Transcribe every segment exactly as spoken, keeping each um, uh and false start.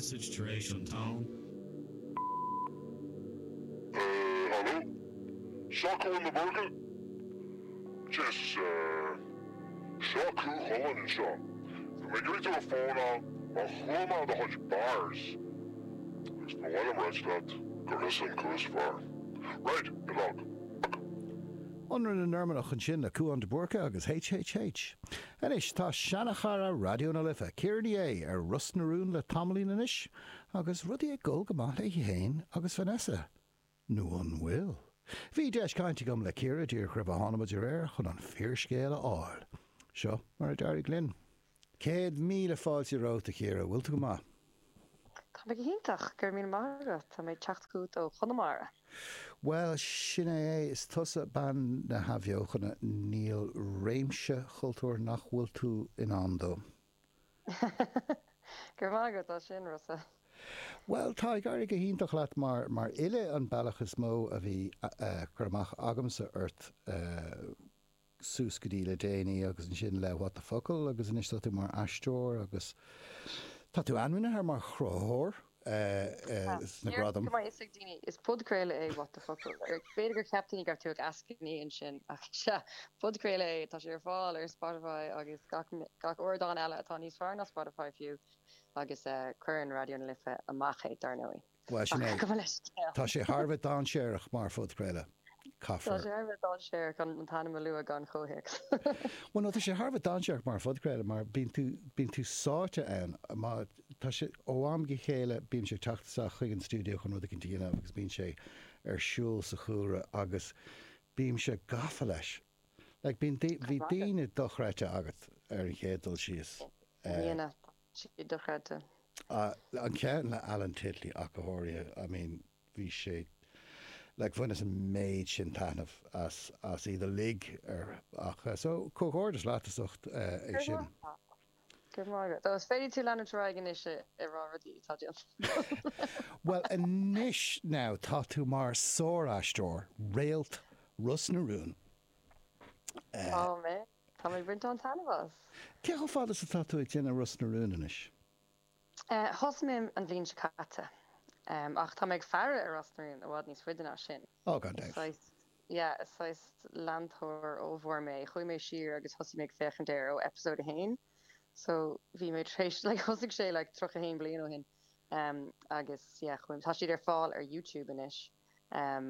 message tar éis an tón. Haló? Seo Cúán de Búrca? Jesus, seo Cú Chulainn anseo. Bhí mé ag iarraidh tú a fónáil mar chuala mé do chuid bars. Agus ba mhaith liom ráit leat gur thusa an cú is fearr. Right, good luck. Ionradh na Normannach ansin le Cúán de Búrca agus HHH. Anois tá seanchara Raidió na Life, Ciara Ní É, ar Ros na Rún le tamaillín anois agus rudaí ag dul go maith léi féin agus Vanessa. Nó an bhfuil? Bhí deis cainte agam le Ciara díreach roimh a tháinig muid ar aer chun an fíorscéal a fháil. Seo mar a d'éirigh linn. Céad míle fáilte romhat, a Chiara, bhfuil tú go maith? Tá mé go hiontach, go raibh míle maith agat. Tá mé ag teacht chugat ó Chonamara. Bhuel, sin é é, is tusa bean na hathbheochana, níl réimse cultúir nach bhfuil tú in ann dó. Go raibh maith agat as sin, Rossa. Bhuel, tá ag éirí go hiontach leat mar mar fhile an bealach is mó a bhí cur amach agamsa ort suas go dtí le déanaí agus ansin le What the Focal agus anois tá tú mar aisteoir agus tá tú ainmnithe mar chruthaitheoir sna Níor gradaim. go mbeidh fhios ag daoine, is podchraoladh é What the Focal. B'fhéidir gur cheap daoine go raibh tú ag eascainí ansin ach sea, podchraoladh é, tá sé ar fáil ar Spotify agus gach gach ardán eile atá níos fearr ná Spotify fiú agus cuireann Raidió na Life amach é, dar ndóigh. Bhuel, sin Ach é. go bhfuil leis scéal. Tá sé thar a bheith dainséarach mar phodchraoladh. Tá Caithfear. sé thar a bheith dainséarach an t-ainm a lua gan chomhthéacs. Bhuel, no, tá sé thar a bheith dainséarach mar phodchraoladh mar bíonn tú bíonn tú sáite ann. Má tá sé ó am go chéile bíonn sé ag teacht isteach chuig an stiúideo chun rud éicint a dhéanamh agus bíonn sé ar siúl sa chúlra agus bímse gafa leis. Like bíonn bhí daoine dochreidte agat ar an chéad dul síos. Bíonn, tá siad dochreidte. An ceann le Alan Titley ach go háirithe, I mean bhí sé like bhaineas an méid sin taitneamh as as iad uilig ar ach so comhghairdeas leat as ucht é sin. Go raibh maith agat. Is féidir tú leanúint ar aghaidh anois ag rá rudaí atá déanta. Bhuel anois now tá tú mar sár-aisteoir, réalt Ros na Rún. Tá mé. Tá mé ag baint an-taitneamh as. Cé chomh fada is atá tú ag déanamh Ros na Rún anois? Thosaigh mé an bhliain seo caite. Ach tá mé ag faire ar Ros na Rún i bhfad níos faide ná sin. Ó gan Is dabht. saghas, yeah, is saghas leantóir ollmhór mé. Chuaigh mé siar agus thosaigh mé ag féachaint air ó episode a haon. So bhí mé tar éis, like thosaigh sé like tríocha haon bliain ó shin. Agus yeah, chuaigh, tá siad ar fáil ar YouTube anois.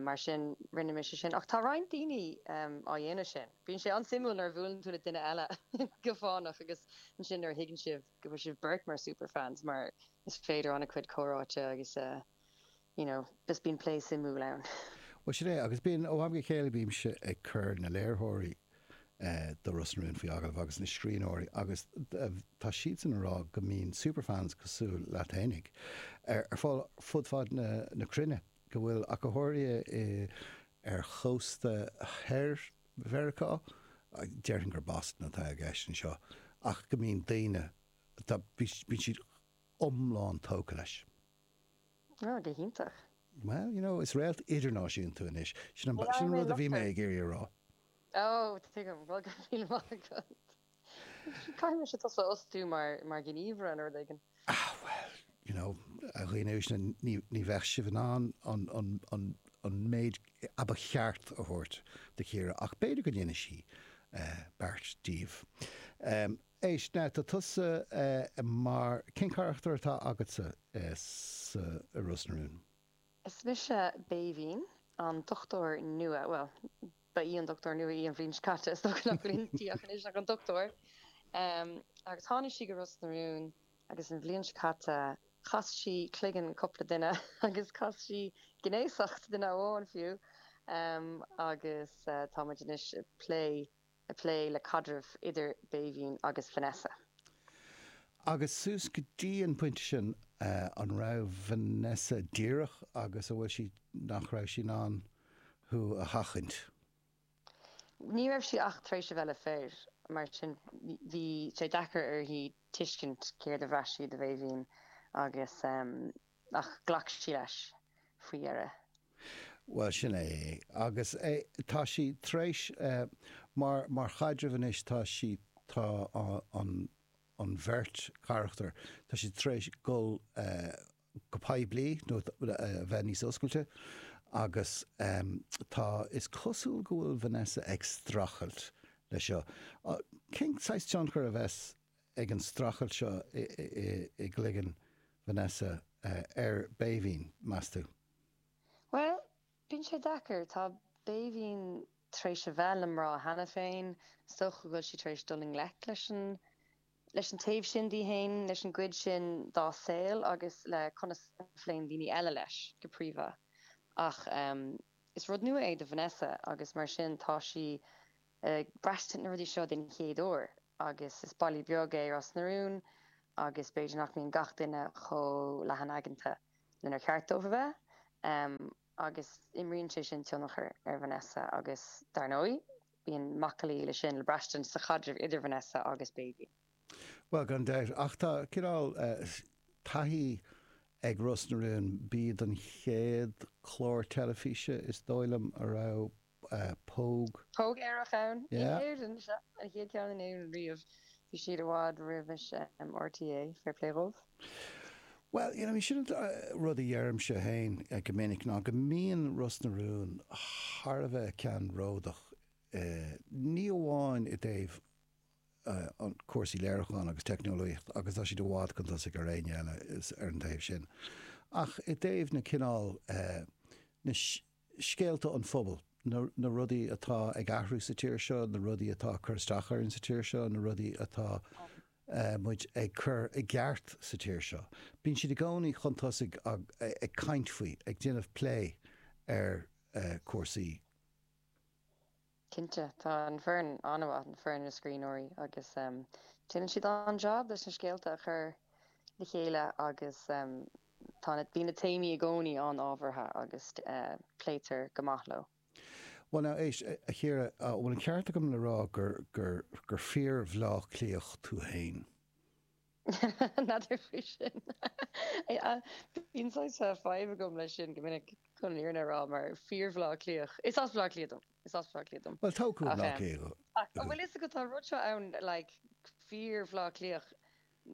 Mar sin rinne mise sin. Ach tá roinnt daoine á dhéanamh sin. Bíonn sé an-suimiúil nuair a bhuaileann tú le duine eile go fánach agus ansin nuair a thuigeann sibh go bhfuil sibh beirt mar superfans mar is féidir an-chuid comhráite agus you know just bíonn plé suimiúil ann. Bhuel sin é, agus bíonn, ó am go chéile bímse ag cur na léiritheoirí do Ros na Rún faoi agallamh agus na scríbhneoirí agus tá siadsan ag rá go mbíonn superfans cosúil leat fhéinig ar fáil fud fad na na cruinne, go bhfuil ach go háirithe ar chósta thoir Mheiriceá, déarfainn gur Boston atá i gceist anseo, ach go mbíonn daoine, tá, bíonn siad iomlán tógtha leis. Ó, go hiontach. Well, you know, is réalt idirnáisiúnta tú anois. Sin an, sin Ní an rud a bhí mé mé ag iarraidh a rá. Ó, tuigim, bhuel, go raibh míle maith agat. Caithfidh mise tusa a fhostú mar, mar ghníomhaire nó rud éigin. Ah, well, you know, a dhaoine uaisle, ní, ní bheadh sibh in ann an, an, an, an méid a ba cheart a thabhairt do Chiara, ach b'fhéidir go ndéanfaidh sí beart díobh. Éist, now, tá tusa mar, cén carachtar atá agatsa sa, i Ros na Rún? Is mise Béibhinn, an dochtúir nua, bhuel, ba í an dochtúir nua í an bhliain seo caite, is dócha nach bhfuil inti ach anois ach an dochtúir. Agus tháinig sí go Ros na Rún agus an bhliain seo caite chas sí cloigeann cúpla duine agus chas sí gnéasacht duine amháin fiú agus tá muid anois ag plé ag plé le caidreamh idir Béibhinn agus Vanessa. Agus suas go dtí an pointe sin, an raibh Vanessa díreach agus an bhfuil sí, nach raibh sí in ann thú a sheachaint? Ní raibh sí ach tar éis a bheith le fir, mar sin bhí sé deacair uirthi tuiscint céard a bhraith sí do Bhéibhinn agus ach ghlac sí leis faoi dheireadh. Bhuel, sin é é. Agus tá sí tar éis, mar, mar chaidreamh anois, tá sí, tá an, an bheirt charachtar, tá siad tar éis dul go poiblí nó a bheith níos oscailte agus tá, is cosúil go bhfuil Vanessa ag streachailt leis seo. Cén saghas tionchar a bheas ag an streachailt seo i gcloigeann Vanessa ar Bhéibhinn, meas tú? Bhuel, bíonn sé deacair. Tá Béibhinn tar éis a bheith le mná cheana féin. Is dócha go bhfuil sí tar éis dul i ngleic leis an leis an taobh sin di féin, leis an gcuid sin dá saol agus le conas a phléann daoine eile leis, go príomha. Ach is rud nua é do Vanessa agus mar sin tá sí ag braistint na rudaí seo den chéad uair agus is baile beag é Ros na Rún agus b'fhéidir nach mbíonn gach duine chomh leathan-aigeanta lenar cheart dóibh a bheith agus imríonn sé sin tionchar ar Vanessa agus dar ndóigh bíonn macallaí leis sin le braistint sa chaidreamh idir Vanessa agus Béibhinn. Bhuel, gan dabht, ach tá cineál taithí ag Ros na Rún, b'iad an chéad chlár teilifíse, is dóigh liom, a raibh póg. Póg aerach ann in Éirinn, sea, an chéad cheann in Éirinn riamh. Bhí siad i bhfad roimh R T É, fair play dhóibh. Bhuel, you know, sin an rud a dheirimse féin go minic ná go mbíonn Ros na Rún thar a bheith ceannródach, ní amháin i dtaobh an cúrsaí léiriúcháin agus teicneolaíocht agus tá siad i bhfad chun tosaigh ar éinne eile ar an taobh sin, ach i dtaobh na cineál na scéalta an phobail, na na rudaí atá ag athrú sa tír seo, na rudaí atá ag cur isteach orainn sa tír seo, na rudaí atá muid ag cur i gceart sa tír seo. Bíonn siad i gcónaí chun tosaigh ag caint faoi, ag déanamh plé ar cúrsaí. Cinnte, tá an foireann an-mhaith, an foireann na scríbhneoirí agus déanann siad an-jab leis na scéalta a chur le chéile agus tá na, bíonn na téamaí i gcónaí an-ábhartha agus pléitear go maith leo. Bhuel now, éist, a Chiara, an bhfuil an ceart agam le rá gur, gur, gur fíor-Bhleá Cliathach tú fhéin? N'fheadar faoi sin. Bíonn saghas fadhb agam leis sin go minic chun an fhírinne a rá mar fíor-Bhleá Cliathach. Is as Bleá Cliath dom. Is as Bleá Cliath dom. Bhuel, toghadh Bleá Cliath. Ach an bhfuil fhios agat tá an rud seo ann like fíor-Bhleá Cliathach.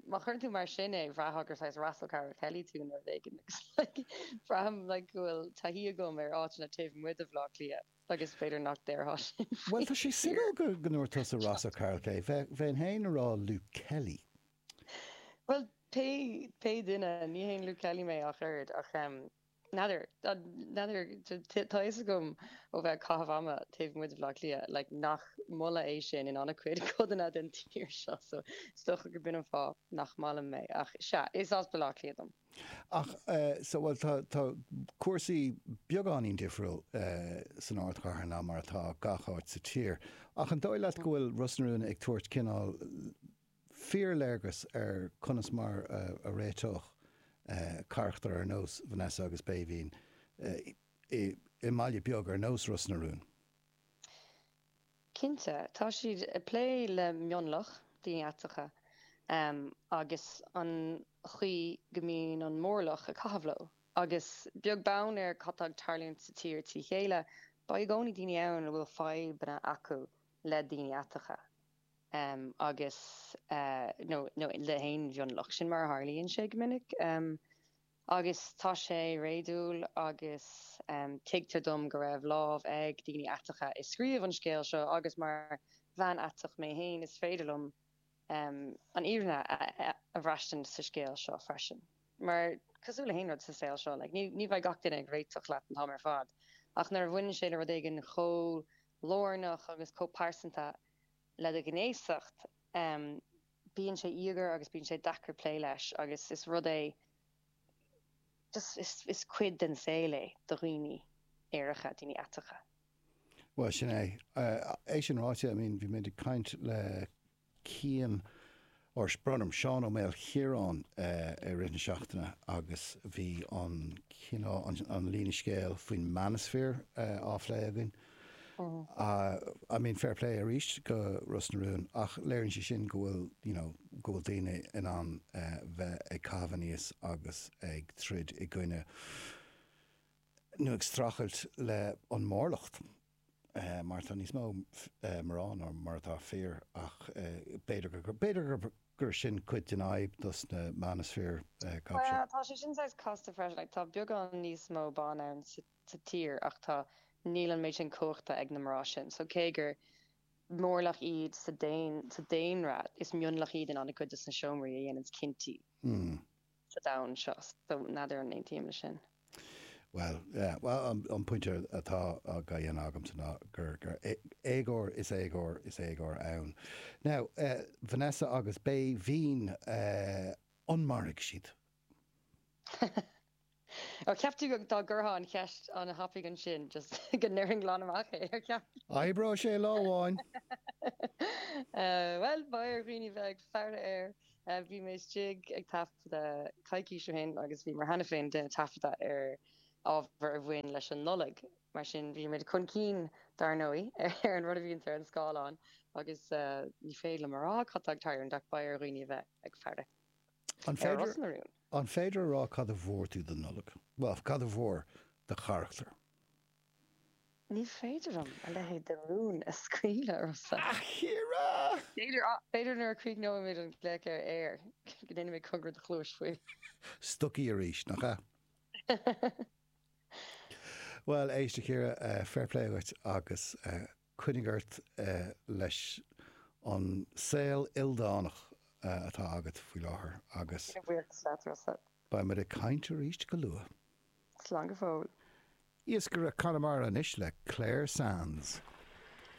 Má chuireann tú mar sin é, bhraithfeá gur saghas Ross O'Carroll Kelly tú nó rud éigin agus like braithim like go bhfuil taithí agam ar áiteanna taobh amuigh de Bhleá Cliath agus b'fhéidir nach déarfá sin Bhuel, faoi tá sé fíor. suimiúil go go ndúirt tusa Ross O'Carroll Kelly. Bheinn féin ag rá Luke Kelly. Bhuel, pé pé duine, ní haon Luke Kelly mé ach oiread, ach em n'fheadar, n'fheadar, tá fhios agam ó bheith ag caitheamh ama taobh amuigh de Bhleá Cliath, like nach moladh é sin in an-chuid codanna den tír seo, so is dócha gurb in an fáth nach maith liom é, ach sea, is as Baile Átha Cliath dom. Ach eh so bhuel tá tá cúrsaí beagáinín difriúil eh san ardchathair ná mar atá gach áit sa tír. Ach an dóigh leat go bhfuil Ros na Rún ag tabhairt cineál fíorléargas ar conas mar a réiteodh carachtair ar nós Vanessa agus Béibhinn i mbaile beag ar nós Ros na Rún? Cinnte, tá siad ag plé le mionlach, daoine aiteacha, agus an chaoi go mbíonn an mórlach ag caitheamh leo. Agus beag beann ar cad tá ag tarlúint sa tír trí chéile, beidh i gcónaí daoine ann a bhfuil fadhbanna acu le daoine aiteacha agus nó nó le haon mhionlach. Sin mar a tharlaíonn sé go minic. Agus tá sé réadúil agus tuigtear dom go raibh lámh ag daoine aiteacha i scríobh an scéil seo agus mar bhean aiteach mé féin is féidir liom an fhírinne a bhraistint sa scéal seo freisin. Mar cosúil le haon rud sa saol seo, like, ní ní bheidh gach duine ag réiteach leat an t-am ar fad ach nuair a bhaineann sé le rud éigin chomh lárnach agus chomh pearsanta le do ghnéasacht, bíonn sé íogair agus bíonn sé deacair plé leis agus is rud é just is is cuid den saol é do dhaoine aeracha, daoine aiteacha. Bhuel, sin é. É sin ráite, I mean, bhí muid ag caint le Cian, or brón orm, Seán Ó Maoilchiaráin i rith na seachtaine agus bhí an cineál, an líne scéil faoin manosphere á phlé againn. I mean, fair play arís go Ros na Rún ach léiríonn sé sin go bhfuil, you know, go bhfuil daoine in ann bheith ag caitheamh aníos agus ag troid i gcoinne nó ag streachailt le an mórlucht mar tá níos mó mná ná mar atá fir ach b'fhéidir gur, b'fhéidir gur gur sin cuid den fhadhb dos na manosphere cab Well, tá sé sin saghas casta freisin, like, tá beagán níos mó ban ann sa sa tír ach tá níl an méid sin cumhachta ag na mná sin. So cé gur mórlach iad sa daon sa daonra, is mionlach iad in an-chuid de na seomraí a dhéananns cinntí Mm. sa domhan seo. So n'fheadar an aontaím leis sin. Well, yeah, well, an, an pointe atá á dhéanamh agamsa ná gur gur éagóir is éagóir is éagóir ann. Now, uh, Vanessa agus Béibhinn uh, an mairfidh siad. Ó cheap tú dá gcuirfeá an cheist an-thapaidh ansin just go ndéarfainn glan amach é ar cheap. Oibreoidh sé lá amháin. Uh, well, beidh ar dhaoine bheith ag faire air. Uh, bhí mé istigh ag taifeadadh coicís ó shin agus bhí mar cheana féin déanamh taifeadadh ar ábhar a bhain leis an Nollaig. Mar sin bhí muid chun cinn dar ndóigh ar an rud a bhíonn ar an scáileán agus uh, ní féidir liom a rá cad tá ag tarlúint ach beidh ar dhaoine bheith ag faire. An Ar féidir Ros na Rún. an féidir a rá cad a bhfuair tú don Nollaig? Well, cad a bhfuair do charachtar? Ní féidir liom a leithéid de rún a scaoileadh Rossa. Ciara! B'fhéidir b'fhéidir nuair a chríochnóimid an glaoch ar air go ndéanfaidh mé cogar do chluais faoi. Stocaí arís nach ea? Well éist a Chiara uh, fair play duit agus uh, coinnigh ort uh, leis an saol ildánach uh, atá agat faoi láthair agus Buíochas leat Rossa. beidh muid ag caint arís go luath. Slán go fóill. Iascaire Conamara anois le Clare Sands.